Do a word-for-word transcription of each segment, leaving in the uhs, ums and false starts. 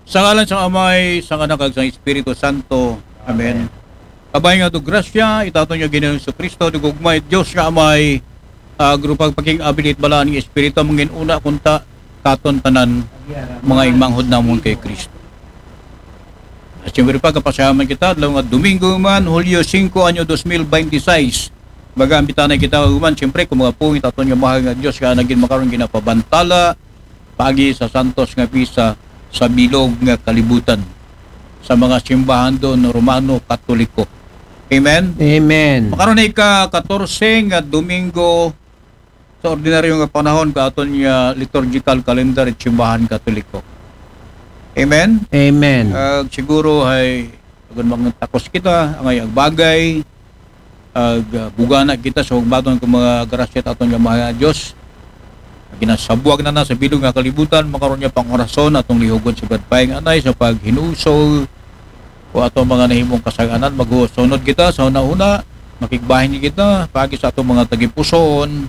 Sa ngalan sang Amay, sang Anak, kag sang Espiritu Santo. Amen. Kabay nga do grasya it aton nga Ginoong Jesu-Cristo, do gugma it Dios nga Amay, agro pagpakig-abilit balaan nga Espiritu, mangin-una kunta katon tanan, mga igmanghod namon kay Cristo. At siyempre pa, kapasayaman kita, adlaw nga Domingo man, Hulyo singko, anyo dos mil beintiseis. Baga, ambitanay kita, man, siyempre, kung mga pungit aton nga mahal nga Dios, nga nagin makaron ginapabantala, pagi sa Santos nga Misa sa bilog nga kalibutan, sa mga simbahan doon, Romano, Katoliko. Amen? Amen. Makaron na ika-katorse nga Domingo sa ordinaryo nga panahon ka aton nga liturgical calendar it simbahan Katoliko. Amen? Amen. Ag siguro ay, agon mga takos kita, angay agbagay, ag, ah, bugana kita sa hugmaton kung mga grasya ta aton nga mga Diyos. Ginasabuag na na sa bilog nga kalibutan, makaroon niya pang orason, atong lihugon sa Badpay nga Anay, sa paghinusog, o atong mga nahimong kasaganan, maghusunod kita sa una-una, makigbahin kita, pagi sa atong mga tagipusoon,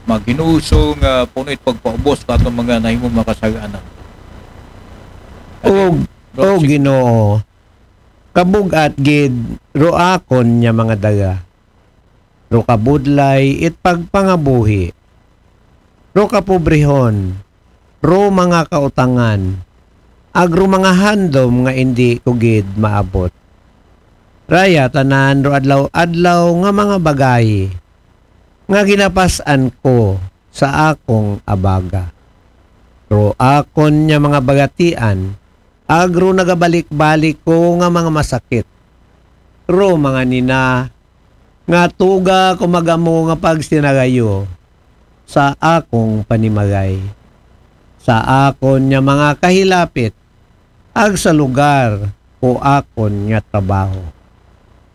maghinusog, nga puno it pagpaubos sa atong mga nahimong mga kasaganan. O, o Ginoo, kabugat gid ro akon nga mga daga, ro kabudlay it pagpangabuhi, ro kapobrehon, ro mga kautangan, ag ro mga handom nga indi ko gid maabot. Raya tanan ro adlaw-adlaw nga mga bagay nga ginapas-an ko sa akong abaga. Ro akon nga mga bagatian, ag ro nagabalik-balik ko nga mga masakit. Ro mga nina, nga tuga ko magamo nga pagsinagayo sa akong panimagay. Sa akon nga mga kahilapit, ag sa lugar ko akon nga trabaho.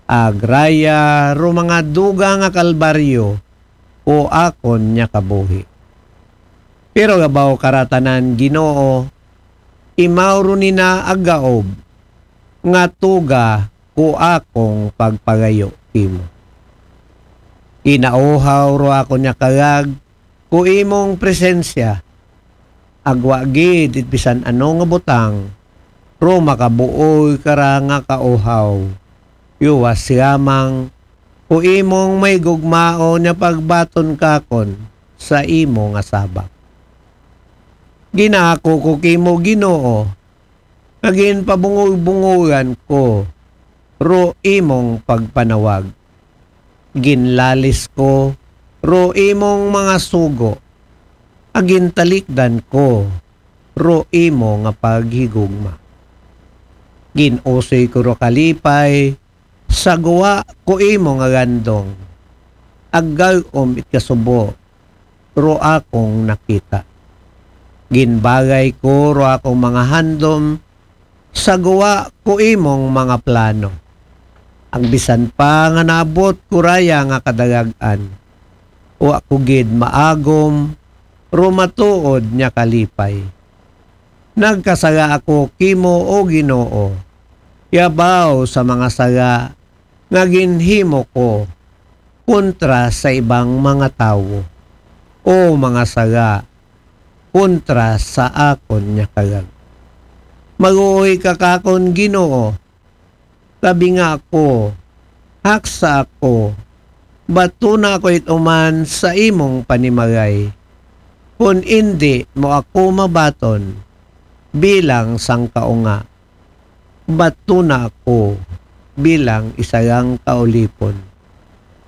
Ag raya ro mga duga nga kalbaryo ko akon nga kabuhi. Pero gabaw karatanan, Ginoo, imaw ro nina ag gaob, nga tuga ko akong pagpagayo kimo. Ginauhaw ro akon nga kagag ko imong presensya, ag wa gid it bisan ano nga butang ro makabuoy kara nga kauhaw. Yuwas yamang ko imong may gugmaon nga pagbaton kakon sa imo nga sabak. Ginako ko kimo, Ginoo, nga ginpabungog-bungogan ko ro imong pagpanawag. Ginlalis ko ro imong mga sugo, ag gintalikdan ko ro imo nga paghigugma. Gin-usoy ko ro kalipay sa guwa ko imo nga gandong, ag gag-om it kasubo ro akong nakita. Ginbagay ko ro akong mga handom sa guwa ko imong mga plano. Ag bisan pa nga naabot ko raya nga kadarag-an, wa ko gid maagom ro matuod nga kalipay. Nagkasala ako kimo, O Ginoo, yabaw sa mga sala nga ginhimo ko kontra sa ibang mga tawo, o mga sala kontra sa akon nga kagag. Maguoy ka kakon, Ginoo, tabinga ako, haksa ako, batona ako it uman sa imong panimagay. Kon indi mo ako mabaton bilang sangkaunga, batona ako bilang isarang kaulipon.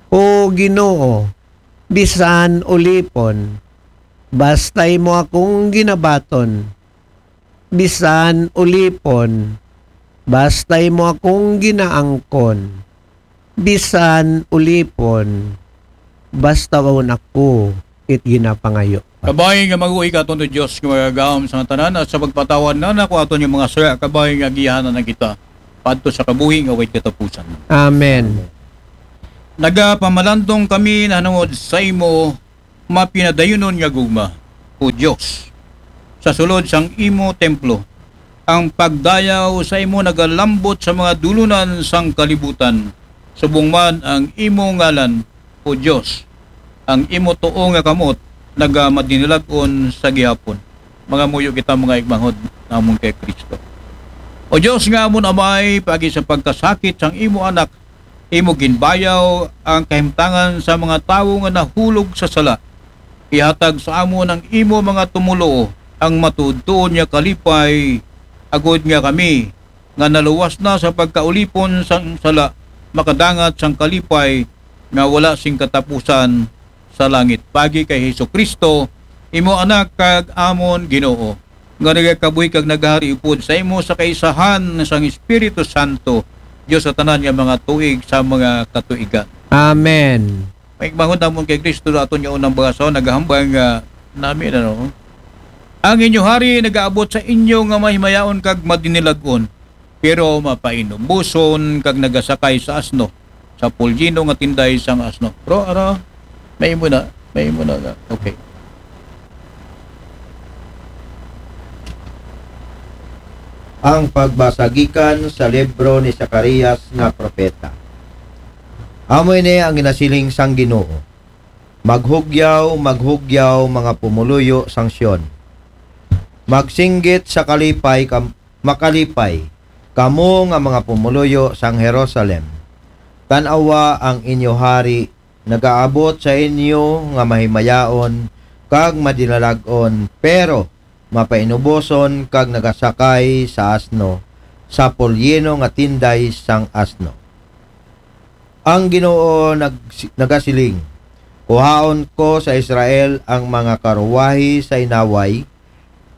O Ginoo, bisan ulipon, basta imo akong ginabaton. Bisan ulipon, basta imo akong ginaangkon. Bisan ulipon, basta waon ako it ginapangayo. Kabay nga maguoy ka aton Dios nga magagahom sa tanan, at sa pagpatawad na nako aton yung mga sala, kabay nga agihanan na kita padto sa kabuhi nga way katapusan. Amen. Nagapamalandong kami nahanungod sa imo mapinadayunon nga gugma, O Dios. Sa sulod sang imo templo, ang pagdayaw sa imo nagalambot sa mga dulunan sang kalibutan. Subong man ang imo ngalan, O Dios, ang imo tuo nga kamot nagamadinilag-on sa gihapon. Mangamuyo kita, mga igmanghod namon kay Kristo. O Dios nga amon Amay, paagi sa pagkasakit sang imo Anak, imo ginbayaw ang kahimtangan sa mga tawo nga nahulog sa sala. Ihatag sa amon ang imo mga tumoluo ang matuodtuod nga kalipay, agod nga kami nga naluwas na sa pagkaulipon sang sala makadangat sang kalipay nga wala sing katapusan sa langit. Paagi kay Jesu-Cristo, imo Anak kag amon Ginoo, nga nagakabuhi kag naghari upod sa imo sa kaisahan sang Espiritu Santo, Dios sa tanan nga mga tuig sa mga katuigan. Amen. Maigmahon namon kay Kristo, aton nga unang bagasaw, nagahambal nga nami, ano? Ang inyo hari nagaabot sa inyo nga mahimayaon kag madinilag-on, pero mapainuboson kag nagasakay sa asno, sa pulyino nga tinday sang asno. Pero ara, may imo na, may imo na. Okay. Ang pagbasa gikan sa libro ni Zacarias nga propeta. Amo ini ang ginasiling sang Ginoo: Maghugyaw, maghugyaw, mga pumuluyo sang Sion. Magsinggit sa kalipay, kam-, makalipay, kamo nga mga pumuluyo sang Jerusalem. Tan-awa, ang inyo hari nagaabot sa inyo nga mahimayaon kag madinalag-on, pero mapainuboson kag nagasakay sa asno, sa pulyino nga tinday sang asno. Ang Ginoo nag-, nagasiling: Kuhaon ko sa Israel ang mga karuwahi sa inaway,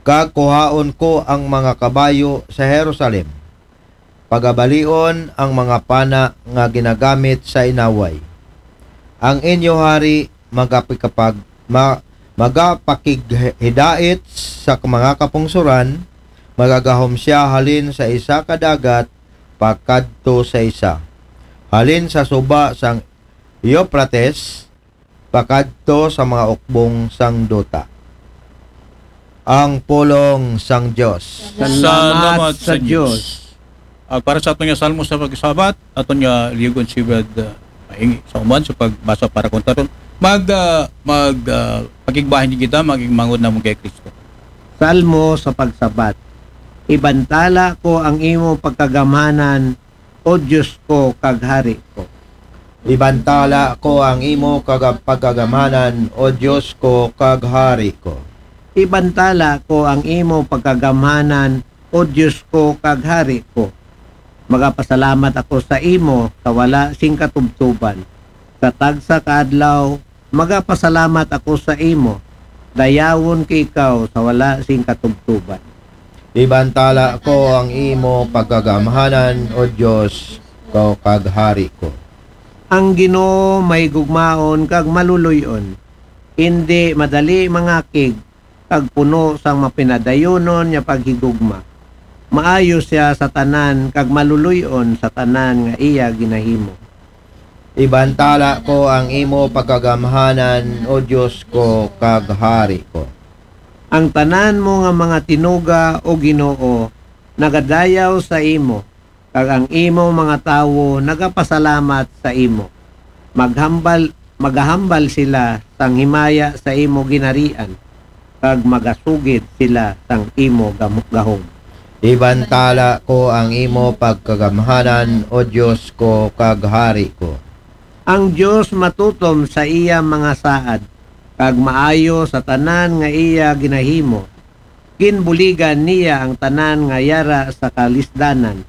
kag kuhaon ko ang mga kabayo sa Jerusalem. Pagabalion ang mga pana nga ginagamit sa inaway. Ang inyo hari magapikapag-, ma-, magapakighidait sa mga kapungsoran, magagahom siya halin sa isa ka dagat pakadto sa isa, halin sa suba sang Euphrates pakadto sa mga ukbong sang duta. Ang pulong sang Dios. Salamat sa Dios. Ah, para sa aton nga Salmo sa Pagsabat, aton nga liugon si Brad, ah, Mahingi sa uman sa pagbasa para kontra ron. Mag, ah, mag, ah, pakigbahin kita, maging mangod namon kay Kristo. Salmo sa Pagsabat. Ibantala ko ang imo pagkagamhanan, O Dios ko kag Hari ko. Ibantala ko ang imo kaga-, pagkagamhanan, O Dios ko kag Hari ko. Ibantala ko ang imo pagkagamhanan, O Dios ko kag Hari ko. Magapasalamat ako sa imo sa wala sing katubtuban. Sa tagsa ka adlaw, magapasalamat ako sa imo. Dayawon ko ikaw sa wala sing katubtuban. Ibantala ko ang imo pagkagamhanan, O Dios ko kag Hari ko. Ang Ginoo mahigugmaon kag maluluy-on. Indi madali mangakig, kag puno sang mapinadayunon nga paghigugma. Maayo siya sa tanan kag maluluy-on sa tanan nga iya ginahimo. Ibantala ko ang imo pagkagamhanan, O Dios ko kag Hari ko. Ang tanan mo nga mga tinuga, O Ginoo, nagadayaw sa imo, kag ang imo mga tawo nagapasalamat sa imo. Maghambal, magahambal sila sang himaya sa imo ginharian, kag magasugid sila sang imo gam-, gahom. Ibantala ko ang imo pagkagamhanan, O Dios ko kag Hari ko. Ang Dios matutom sa iya mga saad, kag maayo sa tanan nga iya ginahimo. Ginbuligan niya ang tanan nga yara sa kalisdanan.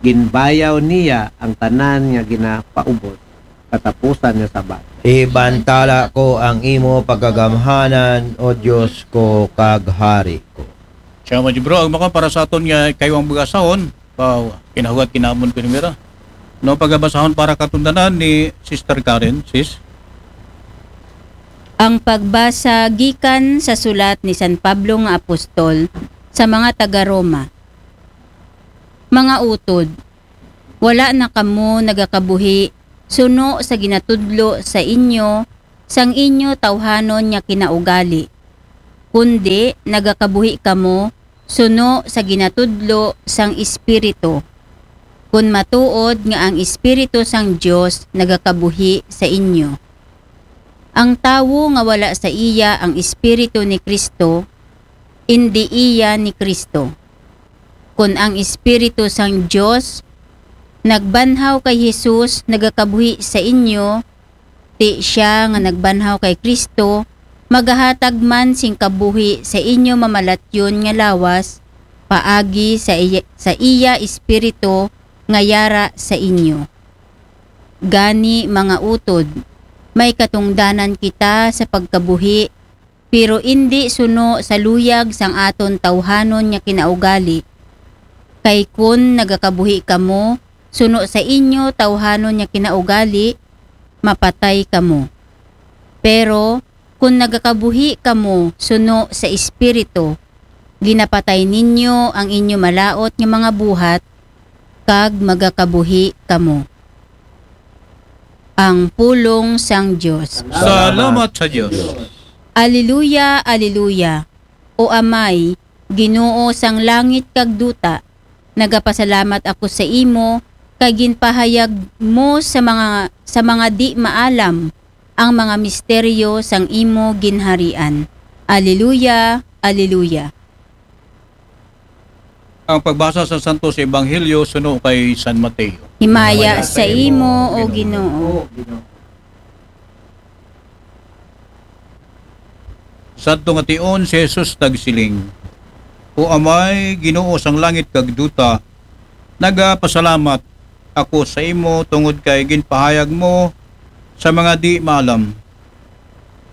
Ginbayaw niya ang tanan nga ginapaubos. Katapusan nga sabat. Ibantala ko ang imo pagkagamhanan, O Dios ko kag Hari ko. Siya mo, bro, ang maka para sa aton nga kaywang bagasahon, pa kinahugat kinamon ko nira. No, pagabasahon para katundanan ni Sister Karen, sis. Ang pagbasa gikan sa sulat ni San Pablo nga apostol sa mga taga Roma. Mga utod, wala na kamo nagakabuhi suno sa ginatudlo sa inyo sang inyo tawhanon nga kinaugali, kundi nagakabuhi kamo suno sa ginatudlo sang Espiritu, kun matuod nga ang Espiritu sang Dios nagakabuhi sa inyo. Ang tawo nga wala sa iya ang Espiritu ni Kristo, indi iya ni Kristo. Kon ang Espiritu sang Dios nagbanhaw kay Jesus nagakabuhi sa inyo, ti sia nga nagbanhaw kay Kristo magahatag man sing kabuhi sa inyo mamalatyon nga lawas paagi sa iya, sa iya Espiritu nga yara sa inyo. Gani, mga utod, may katungdanan kita sa pagkabuhi, pero indi suno sa luyag sang aton tawhanon nga kinaugali. Kay kon nagakabuhi kamo suno sa inyo tawhanon nga kinaugali, mapatay kamo. Pero kon nagakabuhi kamo suno sa Espiritu, ginapatay ninyo ang inyo malaut nga mga buhat, kag magakabuhi kamo. Ang pulong sang Dios. Salamat sa Dios. Aleluya, aleluya. O Amay, Ginoo sang langit kag duta, nagapasalamat ako sa imo kay ginpahayag mo sa mga sa mga di maalam ang mga misteryo sang imo ginharian. Aleluya, aleluya. Ang pagbasa sa Santos Ebanghelyo suno kay San Mateo. Himaya sa imo, O Ginoo. Sadto nga tion si Jesus nagsiling, O Amay, Ginoo sang langit kag duta, nagapasalamat ako sa imo tungod kay ginpahayag mo sa mga di maalam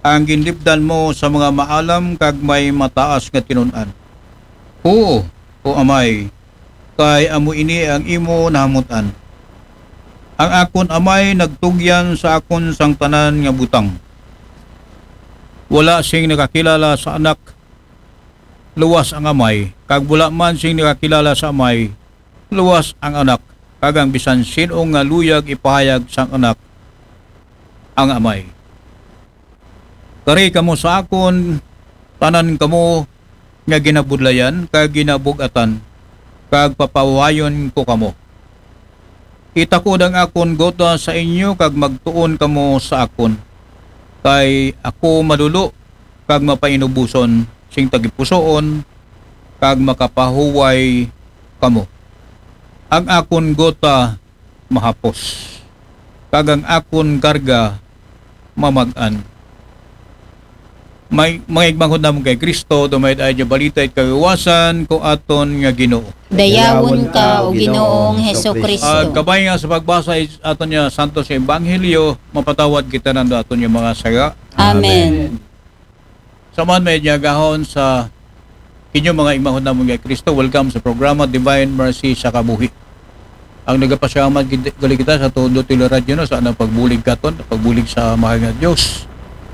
ang ginlibdan mo sa mga maalam kag may mataas nga tinun-an. Oo, O Amay, kay amo ini ang imo nahamut-an. Ang akon Amay nagtugyan sa akon sang tanan nga butang. Wala sing nakakilala sa Anak luwas ang Amay, kag wala man sing nakakilala sa Amay luwas ang Anak, kag ang bisan sin-o nga luyag ipahayag sang Anak ang Amay. Kari kamo sa akon, tanan kamo nga ginabudlayan kag ginabug-atan, kag papahuwayon ko kamo. Itakod ang akon gota sa inyo kag magtuon kamo sa akon, kay ako malulo kag mapainuboson sing tagipusoon, kag makapahuway kamo. Ang akon gota mahapos, kag ang akon karga mamag-an. May mga igmangkod namon kay Kristo, dumay-ad ay balita it kaluwasan ko aton nga Ginoo. Dayawon ka, O Ginoong Heso Kristo. Ag kabay nga sa pagbasa it aton nga Santos nga Ebanghelyo, mapatawad kita nando aton nga mga sala. Amen. Sa man may diagahon sa inyo mga igmangkod namon kay Kristo, welcome sa programa Divine Mercy sa Kabuhi. Ang nagapasalamat gid- gali kita sa todo teleradyo, no, sa anang pagbulig katon, pagbulig sa mahal nga Dios.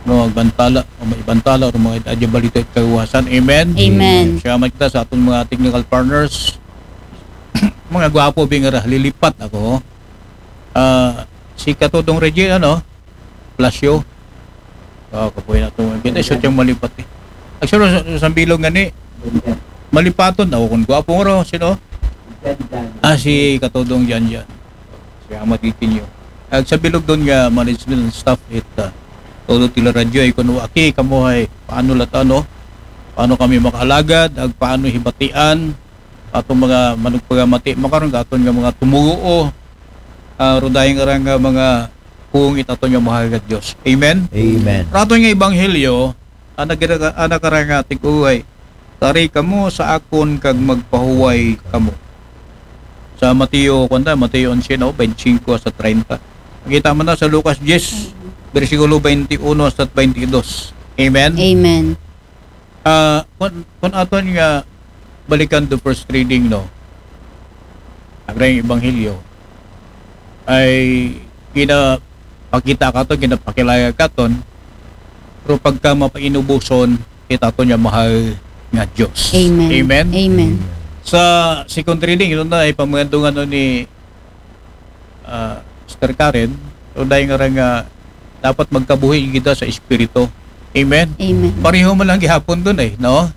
No, magbantala, o maibantala, o mga adya balita it kaluwasan. Amen. Amen. Salamat kita sa atong mga technical partners. Mga gwapo, bingara, lilipat ako. Ah, si Katodong Reggie, ano, Plasyo. Oh, kapoy na itong kita. Iso siyang malipat eh. Actually, sa, sa bilog nga ni, malipaton. Ako kung gwapo nga raw, sino? Ah, si Katodong Jan Jan. Si Ama Titinyo. Ag sa bilog doon nga, management staff, it, uh, todo tila radyo, ay kung waki, kamo ay, paano lat ano? Paano kami makaalagad? Ag paano hibatian? Atong mga manugpagamati, makaroon ka aton nga mga tumuo, ah, rudahin nga nga mga kung it aton nga mahal nga Dios. Amen? Amen. Raton nga ebanghelyo, anak, anak karang ating uway, tari kamo sa akon kag magpahuway kamo. Sa Mateo, kanta, Mateo onse, no, twenty-five hasta treinta. Makita man na sa Lucas diyes, bersikulo twenty-uno hasta twenty-dos. Amen? Amen. Ah, kun, kun aton nga balikan to first reading, no? Ang rayong ebanghelyo ay ginapakita katon, ginapakilala katon, pero pagka mapainubuson, kita to niya mahal nga Diyos. Amen. Amen? Amen. Sa second reading, ito na ay pamagandungan ni ah, Sister Karen, so dahil nga nga dapat magkabuhi kita sa Espiritu. Amen? Amen. Pareho man lang gihapon dun eh, no?